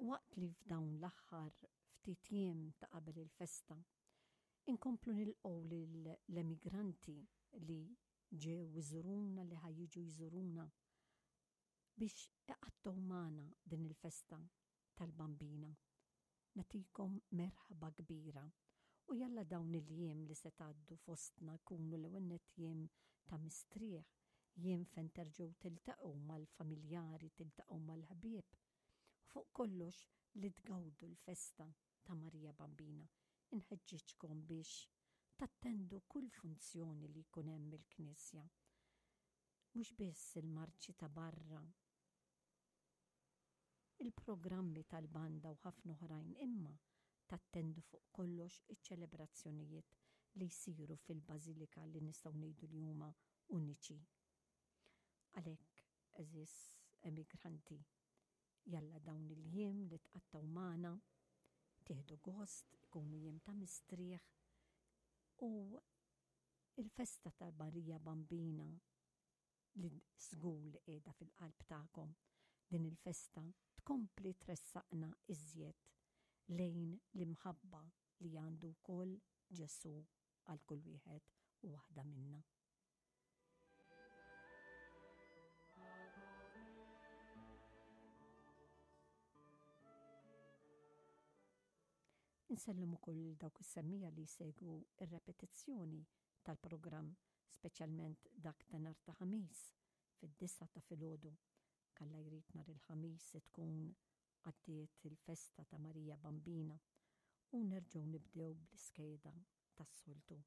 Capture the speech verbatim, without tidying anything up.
Waqt li f'dawn l-aħħar ftit jiem ta' qabel il-festa, inkomplu nilqgħu lill-emigranti li ġew iżuruna, li ħa jiġu jżuruna biex iqattgħu magħna din il-festa tal-Bambina. Nagħtikom merħba kbira u jalla dawn il-jiem li se tgħaddu fostna jkunu l-ewwel nett jiem ta' mistrieħ, jiem fejn terġgħu tiltaqgħu mal-familjari, tiltaqgħu mal-ħbieb. Fuq kollox li tgawdu l-festa ta' Marija Bambina. Inħeġġiġkom biex tattendu kull funzjoni li jkun hemm il-Knisja. Mhux biss il-marċi ta' barra, il-programmi tal-banda u ħafna oħrajn, imma tattendu fuq kollox iċ-ċelebrazzjonijiet li jsiru fil-Bażilika li nistgħu ngħidu li huma uniċi. Għalhekk, għeżież emigranti, jalla dawn il-jiem li tqattgħu magħna tieħdu gost, ikunu jiem ta' mistrieħ u il-festa ta' Marija Bambina li żgur li qiegħda fil-qalb tagħkom, din il-festa tkompli tressaqna iżjed lejn l-imħabba li għandu wkoll Ġesù għal kull wieħed u waħda minna. Insellem ukoll lil dawk is-semmija li jsegwu r-repetizzjoni tal-programm, speċjalment dak ta' nhar ta' Ħamis fid-disgħa ta' filgħodu. Kalla jrid nhar il-Ħamis se tkun għaddiet il-festa ta' Marija Bambina u nerġgħu nibdew bl-iskeda tas-soltu.